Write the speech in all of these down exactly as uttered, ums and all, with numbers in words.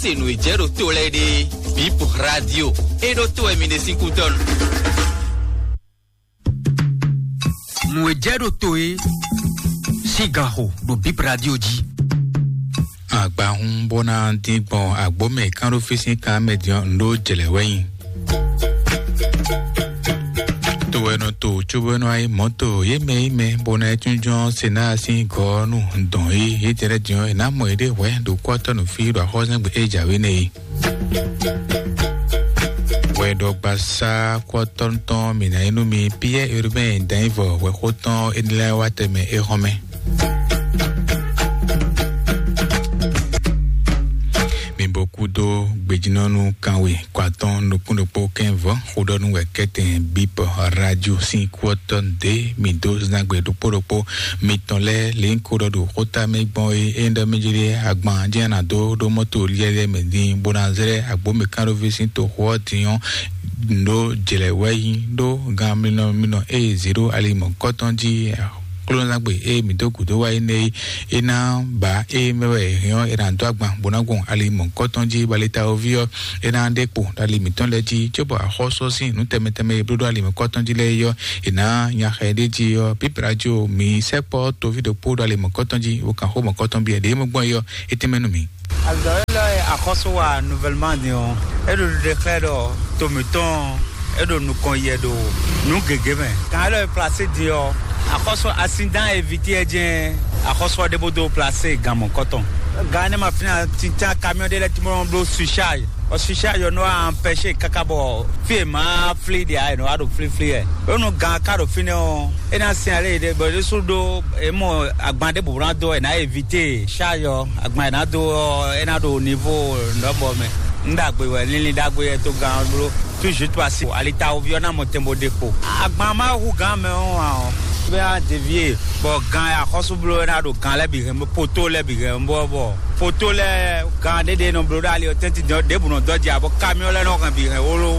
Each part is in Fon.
Se nǔ e jɛ ɖo to lɛ́ɛ ɖe, Bip Radio, e ɖo to wɛ mi ɖe sín kútɔ́nu. Nǔ e jɛ ɖo to e sín ganxo ɖo Bip Radio jí. Agbahun bó ná dín gbɔn agbómɛ kánɖófísin kan mɛ din ɔ́, nǔ ɖó jlɛ̌ wɛ nyi. To wɛ nɔ to cóbó nɔ wá yi mɔ̌to yě mɛ yí mɛ bó ná yi tún jɔ́n se ná sín gɔ́ nú dɔn yí yě jɛ lɛ́ din ɔ́, è nǎ mɔ yěɖée hwɛ̌ ɖo kɔ́tɔ́ nǔ fí ɖo axɔ́súzángbe e jǎwe nɛ́ é. Wɛɖɔgbasá kɔ́tɔ́ tɔn mǐ ná nyí nú mi Piyɛ́ɛ Urbain Danyivɔ wɛxó tɔn énɛ́ lɛ́ɛ wá tɛnmɛ é xɔ́n mɛ. Mi bo kúdó gbejínɔ́nú kanwe kɔ atɔn nukún ɖokpó kɛ́nvɔ́ xó ɖɔ nú wɛ kɛ́tɛn Bip Radio sín kú ɔ́ tɔn ɖě mi dó zán gbe ɖokpó ɖokpó mitɔn lɛ́ɛ lě ko ɖɔ ɖo xóta mɛ gbɔn é é ɖɔ mɛ jlé agban jẹ́ nà dó ɖó mɔ́to liɛ́liɛ́ mɛ dín bó ná zlɛ́ agbǒmɛ kánɖóví sín toxo ɔ́ din ɔ́, ɖó jlɛ̌ wɛ nyí ɖó gan minɔ minɔ ée zě ɖó ali mɔ̌kɔtɔn jí. Klónɔzán gbe ée mǐ dó gǔdo wá énɛ́ é, é ná ba ée mɛ wɛ è hɛn ɔ́, è nǎ dó agban bó ná gbɔn ali mɔ̌kɔtɔn jí, bɔ ali tawoví ɔ́, é ná ɖe kpo ɖo ali mǐtɔn lɛ́ɛ jí, cóbɔ axɔ́sú ɔ́ sín nǔ tɛnmɛ tɛnmɛ e bló ɖó ali mɔ̌kɔtɔn jí lɛ́ɛ é ɔ́, è nǎ nya xɛ ɖ'é jí ɔ́, pípla jí o, mǐ sɛkpɔ́ toví ɖokpó ɖo ali mɔ̌kɔtɔn jí, bó kan xó mɔ̌kɔtɔn bǐ, ɖě mɔ gbɔn é ɔ́, é tɛnmɛ nú mǐ. Azɔ̌ élɔ́ e axɔ́sú wa nouvellement din ɔ́, é ɖo ɖiɖe xlɛ́ ɖɔ to mǐtɔn ɔ́, é ɖo nukɔn yɛ ɖo nǔ gěgé mɛ. Kan élɔ́ e plasé din ɔ́, axɔ́sú asin dán évití ɛ jɛ́n axɔ́sú ɔ́ ɖe bó dó plasé gan mɔ̌kɔtɔn. Gan énɛ́ ma fínɛ́ ǎ, tintán kamiɔ́ ɖé lɛ́ɛ tún bló surcharge. Ɔ surcharge ɔ́ nɔ wá empêché káká bɔ fí e ma flí ɖe ǎ, è nɔ wá ɖo flíflí wɛ. Bónú gan ka ɖo fínɛ́ ɔ́, é ná sɛn alé ɖé bɔ ɖésú ɖó é mɔ agban ɖěbǔ ná dó, è nǎ évité charge ɔ́, agban è nǎ dó ɔ́, é ná ɖo nivo nɔbɔ mɛ. Un ɖagbe wɛ, linlin ɖagbe wɛ tó gan ɔ́ bló. Tout juste parce que alitawoví ɔ́ ná mɔ tɛn bó ɖe kpo. Agban ma hu gan mɛ ɔ́ ǎ ɔ́, bɛ á dévié, bɔ gan e axɔ́sú bló é ná ɖo gan lɛ́ɛ bǐ hɛn bó, poto lɛ́ɛ bǐ hɛn bó bɔ poto lɛ́ɛ gan ɖéɖé nɔ bló ɖó ali ɔ́ tɛ́ntin din ɔ́, ɖěbǔ nɔ dɔ́ jɛ abɔ kamiɔ́ lɛ́ɛ nɔ hɛn bǐ hɛn wló,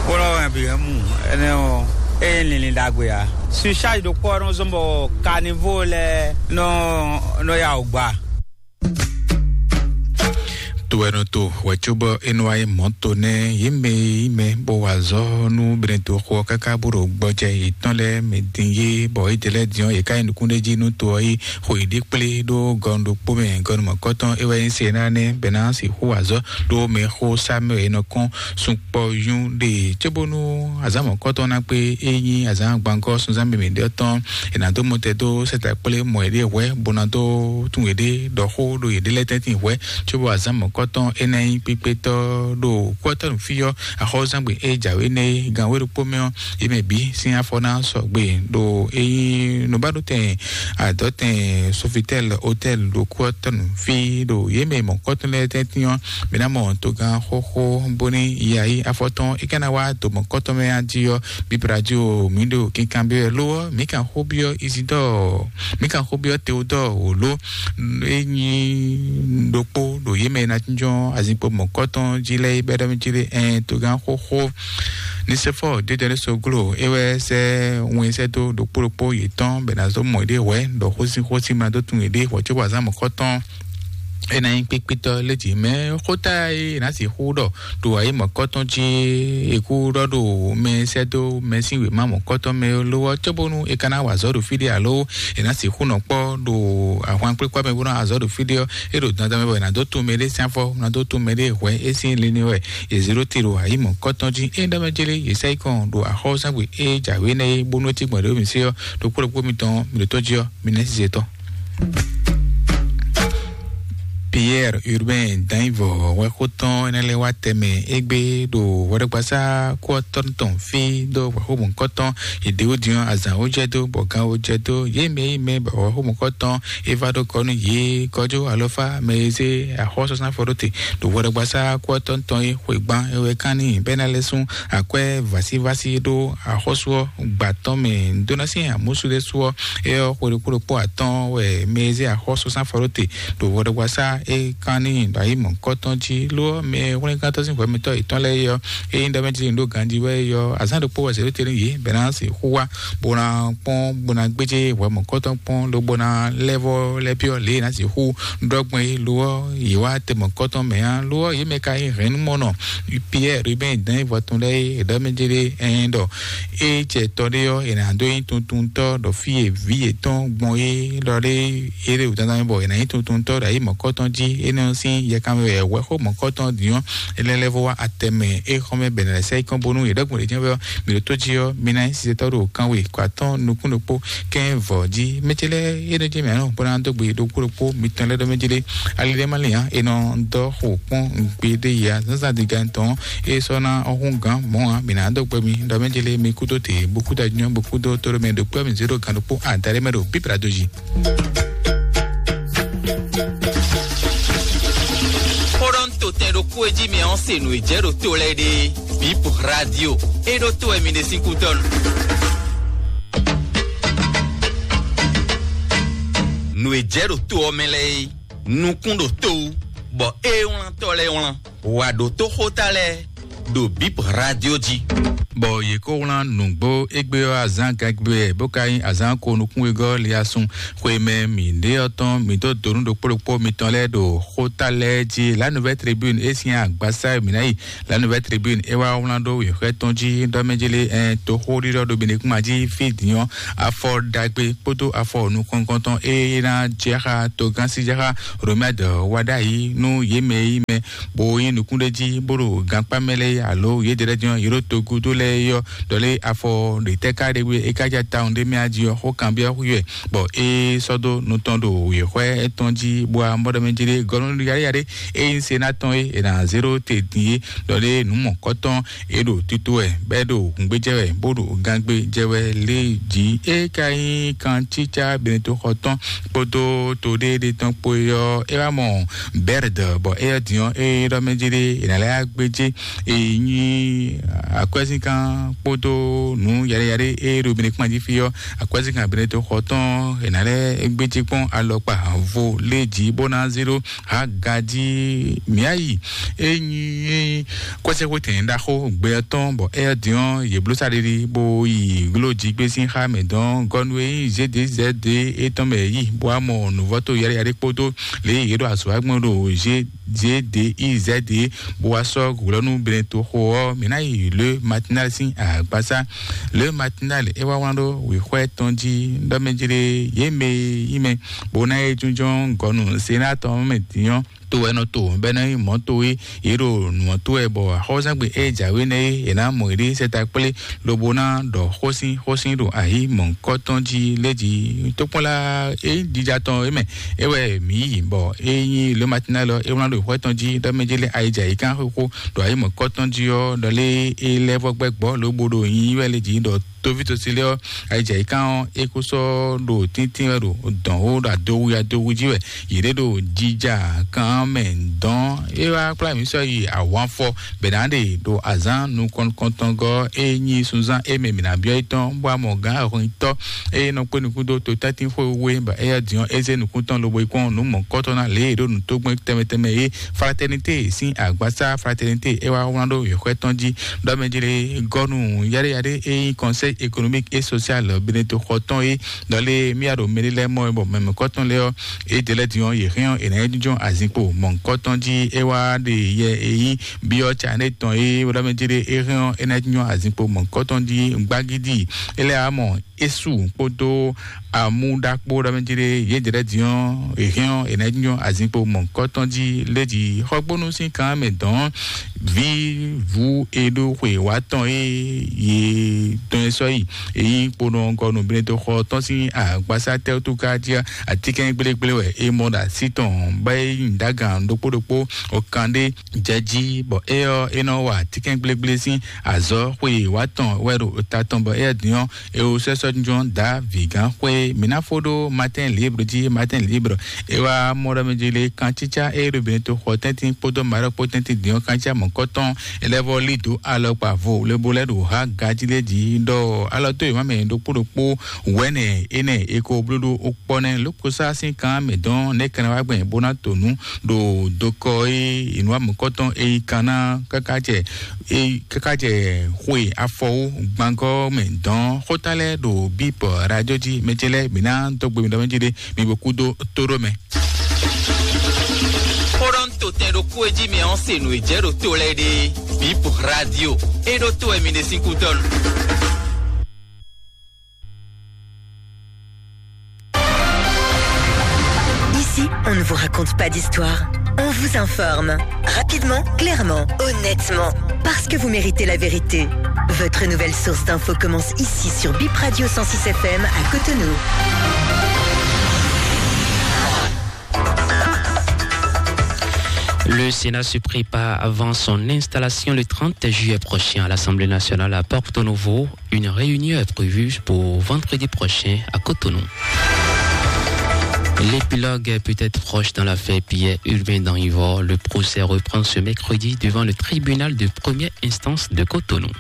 bó nɔ hɛn bǐ hɛn mu. Énɛ́ ɔ́, é nyí linlin ɖagbe ǎ. Surcharge ɖokpó ɔ́ nɔ zɔ́n bɔ caniveau lɛ́ɛ nɔ nɔ ya wǔ gba. To wɛ nɔ to hwɛ cóbɔ é nɔ wá yi mɔ̌ to nɛ́ yě mɛ e yí mɛ bó wa azɔ̌ nú Benɛto xo ɔ́ káká bó ɖo gbɔjɛ yětɔn lɛ́ɛ mɛ din yé, bɔ é jɛ lɛ́ din ɔ́, yě ká yi nukún ɖé jí nú to ɔ́ yi xo yě ɖi kplé ɖó gɔnu ɖokpó mɛ. Gɔnu mɔ̌kɔtɔn é wɛ nyí Senaa nɛ́, bɔ é ná sixú wa azɔ̌ ɖó mɛxó Samuɛ́li e nɔ kɔn sunkpɔ́yún ɖe cóbónú azǎn mɔ̌kɔtɔn ná kpé é nyí azǎn gbangɔ́ sunzán mímí ɖé ɔ́ tɔn. È nǎ dó mɔtɛn dó sɛ́ta kplé mɔ yěɖée hwɛ̌ bó ná dó tún yěɖée ɖɔ xó ɖo yěɖée lɛ́ɛ tɛ́ntin hwɛ̌, cóbɔ azǎn mɔ̌kɔtɔn é ná nyí kpíkpétɔ́ ɖo kúɔ́tɔ́ nǔ fí ɔ́, axɔ́zángbè e jǎwe nɛ́ é gǎn wé ɖokpó mɛ ɔ́, yě mɛ bǐ sín afɔ ná sɔgbe ɖo é nyí nǔbáɖótɛn adɔ̌tɛn Sofitel Hotel ɖo kúɔ́tɔ́ nǔ fí ɖo yě mɛ mɔ̌kɔtɔn lɛ́ɛ tɛ́ntin ɔ́, mǐ ná mɔ togán xóxó bóní yayi afɔtɔn é ka ná wá do mɔ̌kɔtɔn mɛ a jí ɔ́, bíbla jí o, mǐ ɖo kinkanbyɔ́ wɛ ló ɔ́, mǐ kan xó byɔ́ Isidɔ́ɔ, mǐ kan xó byɔ́ Teodɔ́ɔ wǒ ló. É nyí ɖokpó ɖo yě mɛ e ná jínjɔ́n azinkpo mɔ̌kɔtɔn jí lɛ́ɛ é bɛ́ ɖɔ mì jí lé ɛn togán xóxó. Ní sɛ́ fɔ ɖědɛ́ soglo é wɛ sɛ́ wɛn sɛ́ dó ɖokpó ɖokpó yětɔn bɛ ná zó mɔ yěɖée hwɛ̌ ɖɔ xósin xósin ma dó tun yěɖée hwɛ̌ cóbɔ azǎn mɔ̌kɔtɔn é ná nyí kpíkpítɔ́ létí mɛ xóta e è nǎ sixú ɖɔ ɖo ayǐ mɔ̌kɔtɔn jí è kú ɖɔ ɖo mɛ sɛ́ dó mɛ sín wěma mɔ̌kɔtɔn mɛ ló ɔ́, cóbónú è ka ná wa azɔ̌ ɖo fí ɖé alo è nǎ sixú nɔ kpɔ́ ɖo ahwan kplékpá mɛ bó ná wa azɔ̌ ɖo fí ɖé ɔ́, é ɖo dandan mɛ bɔ è nǎ dó tun mɛɖé sín afɔ, ná dó tun mɛɖé hwɛ̌ é sín linlin wɛ è zě ɖó te ɖo ayǐ mɔ̌kɔtɔn jí. É ɖɔ mɛ jélé è sɛ́ yi kɔn ɖo axɔ́súzángbe é jǎwe nɛ́ é bónú é cí gbɔn ɖě mì sé ɔ́, ɖokpó ɖokpó mitɔn mì ɖo tó jí ɔ́, mi nɛ́ zizɛ tɔn. Pierre Urbain Dainvɔ wɛ xó tɔn énɛ́ lɛ́ɛ wá tɛmɛ égbé ɖo hwɛɖɔgbasá kú ɔ́ tɔn tɔn fí ɖó wɛ̌xómɔkɔ́tɔn yěɖéwó din ɔ́, azǎn wó jɛ dó bɔ gán wó jɛ dó yě mɛ yí mɛ bɔ wɛ̌xómɔkɔ́tɔn é vá ɖó kɔ nú yě kɔjó alɔfá mɛ e zé axɔ́súzángbe ɖó te ɖo hwɛɖɔgbasá kú ɔ́ tɔn tɔn é xwegban é wɛ kán n'i bɛ́ ná lɛ́ sún akwɛ́ vásívásí ɖó axɔ́sú ɔ́ gbǎ tɔn mɛ. Dó ná sín amǔsú ɖésú ɔ́, é ɔ́ xwe ɖokpó ɖokpó atɔ́ɔ́n wɛ mɛ e zé axɔ́súzángbe ɖó te ɖo hwɛɖɔgbasá E kan ní ɖo ayi mɔ̌kɔtɔn jí ló mɛ hwlɛ́ngántɔ́ sín hwɛmɛtɔ́ yětɔn lɛ́ɛ é ɔ́, é nyí ɖɔ mɛ jí ɖo ganjí wɛ é ɔ́, azǎn ɖokpó wɛ zě ɖó tɛ́ntin yě bɛ́ ná sixú wá bó ná kpɔ́n bó ná gbéjé hwɛ mɔ̌kɔtɔn kpɔ́n lobo ná lɛ́ vɔ́ lɛ́ byɔ́ lě e ná sixú ɖɔ gbɔn é ló ɔ́, yě wá tɛ mɔ̌kɔtɔn mɛ ǎ. Ló ɔ́, yě mɛ ka nyí hɛ̌nnumɔnɔ Pierre Ruben dɛ̌n vɔ tɔn lɛ́ɛ é ɖɔ mɛ jí ɖé ɛn ɖɔ é jɛ tɔ ɖé ɔ́, è nǎ dó nyí tuntuntɔ́ ɖɔ fí e vǐ yětɔn gbɔn é ɖɔ ɖé é ɖe wǔ dandan bɔ è nǎ nyí tuntuntɔ́ ɖo ayi mɔ̌kɔtɔn jí. Énɛ́ ɔ́ sín yɛkanmɛ wɛ wɛ̌xó mɔ̌kɔtɔn din ɔ́, é lɛ́ lɛ́ vɔ wá atɛ mɛ é xɔ́mɛ bɛ̌ nɛ́ lɛ́ sɛ́ yí kɔn bónú yě ɖɔ́gbɔn ɖě jɛ́n vɛ ɔ́, mǐ ɖo tó jí ɔ́, mi ná nyí sisɛtɔ́ ɖo kanwe kɔ atɔ́ɔ́n nukún ɖokpó kɛ́n vɔ̌ jí. Mɛ ce lɛ́ɛ é nɔ jɛ mǐ anɔ bó ná dó gbe ɖokpó ɖokpó mitɔn lɛ́ɛ ɖɔ mɛ jí ɖé. Ali ɖé má lin ǎ, è nɔ dɔ́ xo kpɔ́n gbe ɖé ya zǎnzǎn diga tɔn é sɔ́ ná ɔ́ hún gǎn mɔ̌ ǎ. Mǐ ná dó gbe mi ɖɔ mɛ jí lé mi kúdó te bó kúdó anyɔ bó kúdó tóɖó mɛ ɖo kpɛ́ mǐ zé ɖo gǎn ɖokpó adaɖé mɛ ɖo bíblá dó jí. Xó ɖɔ ń to tɛn ɖokpó e jí mi ɔ́ se nǔ e jɛ ɖo to lɛ́ɛ ɖe. Bip radio e ɖo to wɛ mi ɖe sín kútɔ́ nu. Nǔ e jɛ ɖo to ɔ́ mɛ lɛ́ɛ é, nukún ɖo to wú, bɔ é wlántɔ́ lɛ́ɛ wlán. Wǎ ɖótó xóta lɛ́ɛ ɖo Bip radio jí. Bɔ yě kó wlán nǔgbó égbé ɔ́ azǎn gangbe wɛ bó ka nyí azǎn ko nukúnwegɔ́ liasun xwe mɛ mǐ ɖe ɔ́ tɔn mǐ dó donu ɖokpó ɖokpó mitɔn lɛ́ɛ ɖo xóta lɛ́ɛ jí. La Nouvelle Tribune é sín agbasá e mǐ ná yi. La Nouvelle Tribune é wá wlán ɖó wěxwɛ́ tɔn jí ɖɔ mɛ jí lé ɛn toxó ɖiɖɔ ɖo Benekuma jí fí din ɔ́, afɔ ɖagbe kpódó afɔ nukɔnkɔntɔn é ná jɛ xá togán sí jɛ xá Romɛd wá ɖ'ayǐ nú yě mɛ e nyí mɛ bó nyí nukúnɖéjí bó ɖo gankpá mɛ lɛ́ɛ alo yědɛɛ lɛ́ɛ din ɔ́, yě ɖo togúdo lɛ́ɛ é ɔ́, ɖɔ lé afɔ ɖětɛ́ ká ɖe wé é ká ja tawun ɖé mɛ ají ɔ́, xó kanbyɔ́ xwí wɛ, bɔ é sɔ́ dó nutɔn ɖo wěxwɛ́ tɔn jí bó wá mɔ ɖɔ mɛ jí ɖé gɔ́ nú yaɖéyaɖé é nyí se ná tɔn é è nǎ zé ɖó te din é, ɖɔ lé nǔ mɔ̌kɔtɔn é ɖo tito wɛ, bɔ é ɖo hǔngbéjɛ wɛ, bó ɖo gangbé jɛ wɛ lé jí. É ka nyí kancícá Benetoxɔ tɔn kpódó to ɖé ɖé tɔn kpó é ɔ́, é wá mɔ Bɛrd, bɔ é ɔ́ din ɔ́, é ɖɔ mɛ jí ɖé è nǎ lɛ́ gbéjé é nyí akwɛ́zínkan kpódó nǔ yaɖéyaɖé é ɖo Benekuma jí fí ɔ́, akwɛ́zínkan Benetoxɔ tɔn è nǎ lɛ́ gbéjé kpɔ́n alɔkpa vo lé jí bó ná zé ɖó Hagaji Miayi. E nyi kɔsɛxwetɛn ɖaxó gbɛ ɔ́ tɔn, bɔ é ɔ́ din ɔ́, yě bló saɖiɖi bó yi gló jí gbé sín xá mɛ dɔn gɔnu e nyí zédezɛde étɔn mɛ yi, bó wá mɔ nǔvɔ́tó yaɖéyaɖé kpódó lě e yě ɖo azɔ̌ wa gbɔn ɖo zédezɛde, bó wá sɔ́ hwlɔ́nú Benetoxo ɔ́. Mǐ ná yi Le Matinal sín agbasá. Le Matinal é wá wlán ɖó wěxwɛ́ tɔn jí ɖɔ mɛ jí ɖé yě mɛ e nyí mɛ bó ná é jínjɔ́n gɔnu Senat ɔ́ mɛ din ɔ́, to wɛ nɔ to bɔ é ná nyí mɔ̌ towe. Yě ɖo nǔ ɔ́ to wɛ bɔ axɔ́súzangbe e jǎwe nɛ́ é è nǎ mɔ yě ɖe sɛta kplé lobo ná ɖɔ xósin xósin ɖo ayi mɔ̌kɔtɔn jí lé jí. Tókpɔ́nla e nyí jija tɔn é mɛ é wɛ mǐ yi, bɔ é nyí Le Matinal ɔ́, é wlán ɖo xwɛ tɔn jí ɖɔ mɛ jí lé ayijǎyíkan xóxó ɖo ayi mɔ̌kɔtɔn jí ɔ́, ɖɔ lé é lɛ́ vɔ gbɛ́ gbɔ́ lobo ɖo nyi wɛ lé jí ɖɔ tovítɔ́sílẹ̀ ɔ́, ayijǎyíkan ɔ́, é kó sɔ́ ɖo tíntín wɛ ɖo dɔ̌n ó ɖo adowu adowu jí wɛ. Yě ɖé ɖo jija kan mɛ dɔn. É wá kplá mǐ sɔ́ yi awǎnfɔ bɛ̌ ná ɖe ɖo azǎn nukɔntɔngɔ́ é nyí sunzán é mɛ mǐ ná byɔ́ é tɔn, bó wá mɔ gǎn ahɔnyitɔ́ é nɔ kpé nukún dó totɛ́ntin xwé wé, bɔ éyɛ́ din ɔ́, é zé nukún tɔn lobo yi kpɔ́n nǔ mɔ̌kɔ́tɔn ná lě e è ɖo nǔ tó gbɛn tɛnmɛ tɛnmɛ é. Fraternité sín agbasá Fraternité é wá wlán ɖó yěxwɛ́ tɔn jí ɖɔ mɛ jlé gɔ́nu yaɖéyaɖé e nyí Conseil économique et social Benetoxɔ tɔn é, ɖɔ lé mía ɖo mɛɖé lɛ́ɛ mɔ é, bɔ mɛmɛkɔtɔn lɛ́ɛ ɔ́, é ɖe lɛ́ din ɔ́, yě hɛn ɔ́, è nǎ yi jínjɔ́n azinkpo mɔ̌kɔtɔn jí. É wá ɖe yɛ e nyí byɔ́ Cané tɔn é ɖɔ mɛ jlé é hɛn ɔ́, é ná yi jínjɔ́n azinkpo mɔ̌kɔtɔn jí gbagídí. É lɛ́ wá mɔ Esu kpódó amúɖakpó ɖɔ mɛ jí ɖé yě jɛ ɖɛ́ din ɔ́, è hɛn ɔ́, è nǎ nyɔ azinkpo mɔ̌kɔtɔn jí lé jí xɔgbónú sín kan mɛ dɔn. Vǐ vú e ɖó xwe wá tɔn é yě tɔn é sɔ́ yi, èyí kponɔ gɔnu Benetoxɔ tɔn sín agbasá tɛ́wútúká jí atínkɛn gblégbléwɛ é mɔ ɖo así tɔn bá é nyi ɖagán ɖokpó ɖokpó. Ɔkan ɖé jɛ jí, bɔ é ɔ́, é nɔ wa atínkɛn gblégblésin azɔ̌ xwe wá tɔn wɛ ɖo ta tɔn, bɔ éyɛ́ din ɔ́, é wú sɛ́ sɔ́ Jɔn da vǐgán xwé mǐ ná fó ɖó Matin Libre jí. Matin Libre é wá mɔ ɖɔ mɛ jí lé kan cícá é ɖo bǐ to xɔ tɛ́ntin kpódó maɖɔkpó tɛ́ntin dín ɔ́ kan cícá mɔ̌kɔtɔn. Elɛvɔ lí dó alɔkpa vo lebo lɛ́ ɖo há gají lé jí ɖɔ alɔ tó yě má mɛ ɖokpó ɖokpó wɛ̌nɛ énɛ́ é ko bló ɖó ó kpɔ́ nɛ́ lókosá sín kan mɛ dɔn nɛ́ kɛnɛ wá gbɛn bó ná to nǔ ɖo dokɔ é inú amɔ̌kɔtɔn é yi kan ná káká jɛ é káká jɛ xwe afɔwó gbangɔ mɛ dɔn xóta lɛ́ ɖo bíp radio jí mɛ ce lɛ́ mǐ ná dó gbe mǐ ɖɔ mɛ jí ɖé mǐ bo kú dó tó ɖó mɛ. Xóɖɔ́ntotɛn ɖokpó e jí mɛ ɔ́ se nǔ e jɛ ɖo to lɛ́ɛ ɖe. Bip radio. E ɖo to wɛ mi ɖe sín kútɔ́. Ici, on ne vous raconte pas d'histoire. On vous informe. Rapidement, clairement, honnêtement. Parce que vous méritez la vérité. Votre nouvelle source d'infos commence ici sur Bip Radio cent six F M à Cotonou. Le Sénat se prépare avant son installation le trente juillet prochain à l'Assemblée nationale à Porto Novo. Une réunion est prévue pour vendredi prochain à Cotonou. L'épilogue est peut-être proche dans l'affaire Pierre Urbain dans Ivor. Le procès reprend ce mercredi devant le tribunal de première instance de Cotonou.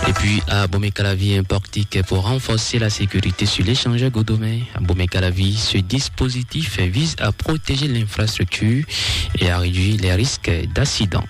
Et puis, à Bomekalavi, un portique pour renforcer la sécurité sur l'échangeur Godomé. À Bomekalavi, ce dispositif vise à protéger l'infrastructure et à réduire les risques d'accident.